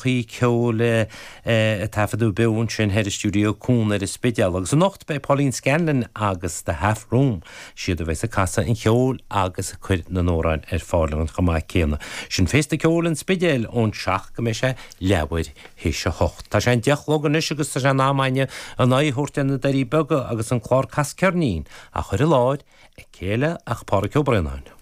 Ceoil a taifeadadh beo ansin thoir i Stiúideo Cuan ar an Spidéal. Agus anocht beidh Pauline Scanlon agus The Half Room, siad a bheas ag casadh an cheoil agus ag cur na n-amhrán ar fáil chomh maith céanna. Sin Féasta Ceoil an Spidéil ón 7 go mbeidh sé leathuair théis a hocht. Tá sé an 10 a chlog anois agus tá sé in am againne an aghaidh a thabhairt ar na Doirí Beaga agus an clár Cas Ceirnín á chur i láthair ag cé eile ach Pádhraic Ó Braonáin.